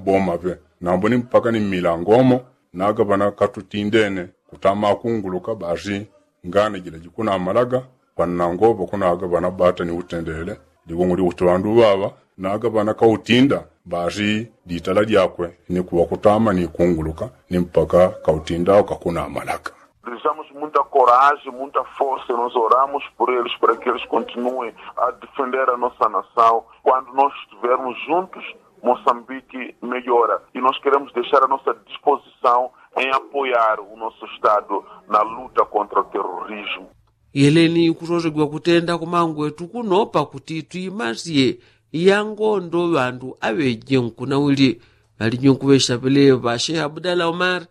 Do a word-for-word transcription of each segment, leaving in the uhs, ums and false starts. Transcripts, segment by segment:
Pomape nambo ni mpaka ni mmilangomo naga ŵana katutindene kutama akunguluka basi ngane jila jikunamalaga. Panangopo kunaga ŵana bata ni utendele ligongo lya kuti ŵandu ŵaŵa naga ŵana kautinda basi litala lyakwe ni kuŵa kutama ni kunguluka ni mpaka kautinda kakunamalaga. Dizamos muita coragem, muita força e nós oramos por eles para que eles continuem a defender a nossa nação. Quando nós estivermos juntos, moçambique melhora e nós queremos deixar a nossa disposição em apoiar o nosso estado na luta contra o terrorismo. Yeleni kusosegwa kutenda kumangwetu kuno pakuti twimasye yangondo ŵandu aŵeje nkuna uli. Ŵaliji nkuŵesha peleŵa shehe abdala omar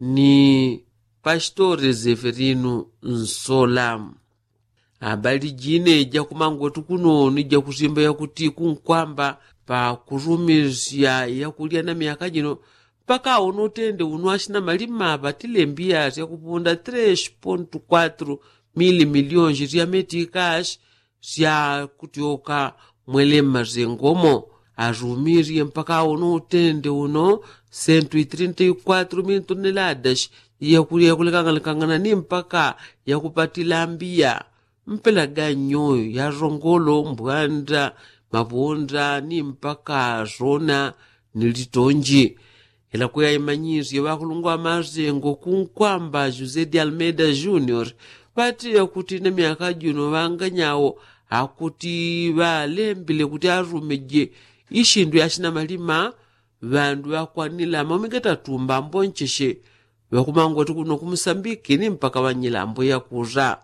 ni pasitore zeferinu nsola. Abali jine jakumangwetu kuno ni jakusimba yakuti kunkwamba pakurumisya yakulya na myaka jino mpaka uno utende uno asina malima ŵatilembiya syakupunda tres pontu kwatru mili milionji sya metikashi syakutyoka mwele mmasengomo. Arumisye mpaka uno utende uno sentu itrinta ikwatru mili toneladashi yakulya yakulekangalekangana ni mpaka yakupatila mbiya mpela ganyo ya rongolo mbwanda mapunda ni mpaka zona ni litonji. Ila kweya imanyisye ŵakulungwa ŵamasengo kunkwamba josé de almeida junior ŵatiya kuti na myaka juno ŵanganyawo akuti ŵalembile kuti arumeje ishindu yashina malima ŵandu ŵakwanila maumi gatatu mbambo ncheshe. Ŵakumangwati kuno kumusambiki ni mpaka ŵanyilambo yakuza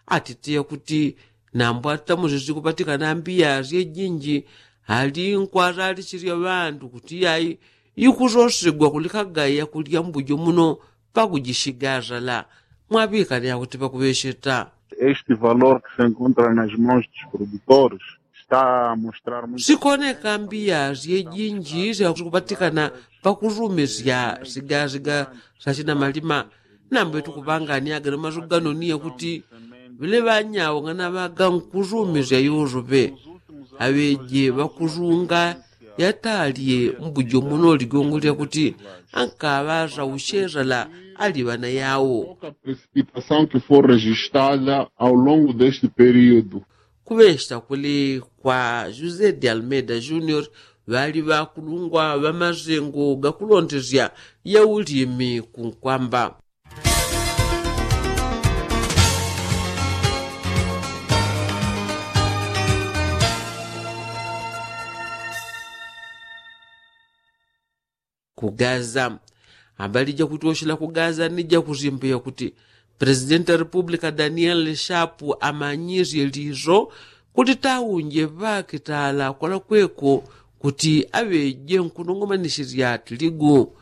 atitiya kuti nambo atamuzizi kupatikana mbiya syejinji ali nkwazalichilya ŵandu kuti yayi ikuzosigwa kulikaga yakulya mbujo muno pakujishigazala. Mwaŵikani akuti pakuŵesheta este valor que se encontra nas mons dos produtores está a mostrar muito sikoneka mbiya syejinji syakupatikana pakurumisya sigaziga syachina malima. Nambo itukupangani agano masu gano ni yakuti ŵile ŵanyawo nganaŵaga nkurumisya yosope aŵeje ŵakurunga yatalye mbujo muno ligongo lyakuti ankaŵasa ushesala ali ŵana yawo. Precipitação que foi registrada ao longo deste período. Kuŵesta kuli kwa josé de almeida junior ŵali ŵakulungwa ŵamasengo gakulondesya yaulimi kunkwamba. Ku gaza. Abali jakuti oshila ku gaza ni jakusimbiya kuti presidenti wa repubulika daniel shapu amanyisye liso kuti taunje ŵakitala kwalakweko kuti aŵeje nkunongomanisisya tiligu.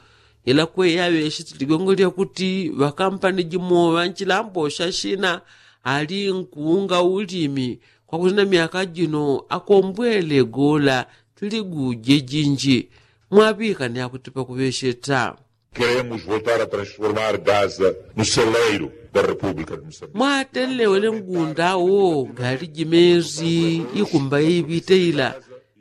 Ila kweya aŵeshi tiligongo lyakuti ŵakampani jimo ŵanchilambo sha shina ali nkuunga ulimi kwakuti na myaka jino akombwele gola tiligu jejinji. Mwaŵikani akuti pakuŵesheta. Queremos voltar a transformar gaza no celeiro da república de moçambique. Mwatelewele ngunda wo gali jimezi ikumba iŵite ila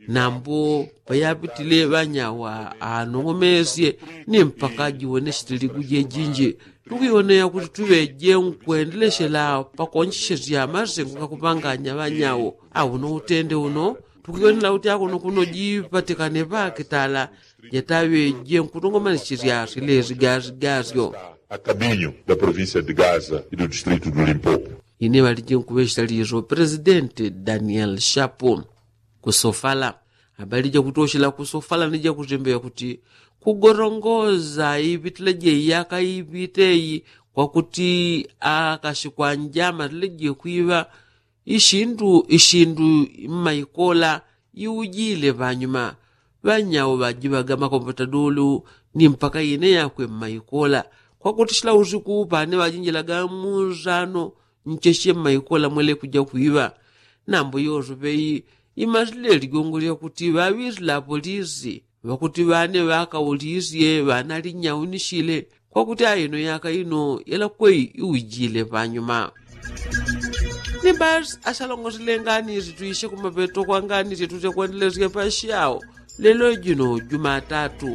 nambo payapitile ŵanyawa anong'omesye ni mpaka jiwonesye tiligu jejinji. Tukuyoneya kuti tuŵeje nkwendeleshela pakoncheshesya masengo gakupanganya ŵanyawo. Auno utende uno tukuyonela kuti akuno kuno jipatikane ŵakitala jataŵeje nkunongomanisisya silezi gazi gazyo. A caminho da província de gaza e do distrito do limpopo. Ine ŵaliji nkuŵeshela liso presidenti daniel shapu. Kusofala. Abali jakutoshela kusofala ni jakuzembeya kuti kugorongoza iŵitila jeiyaka iŵite iyi kwakuti akashikwanja amatila jekwiŵa ishindu ishindu mmaikola iujile ŵanyuma. Ŵanyawo ŵajiŵaga makomputadulu ni mpaka ine yakwe mmaikola kwakuti shila usiku pane ŵajinjilaga munzano ncheshe mmaikola mwele kuja kwiŵa. Nambo yosope iyi imasile ligongo lyakuti ŵaŵisila apolisi ŵakuti ŵane ŵakaulisye ŵanalinyaunisile kwakuti aino yaka ino yalakweyi iujile panyuma. Ni basi asalongosile ngani sitwishe kumapeto kwa ngani sitwishe kwendelesya pasyao lelo jino jumatatu.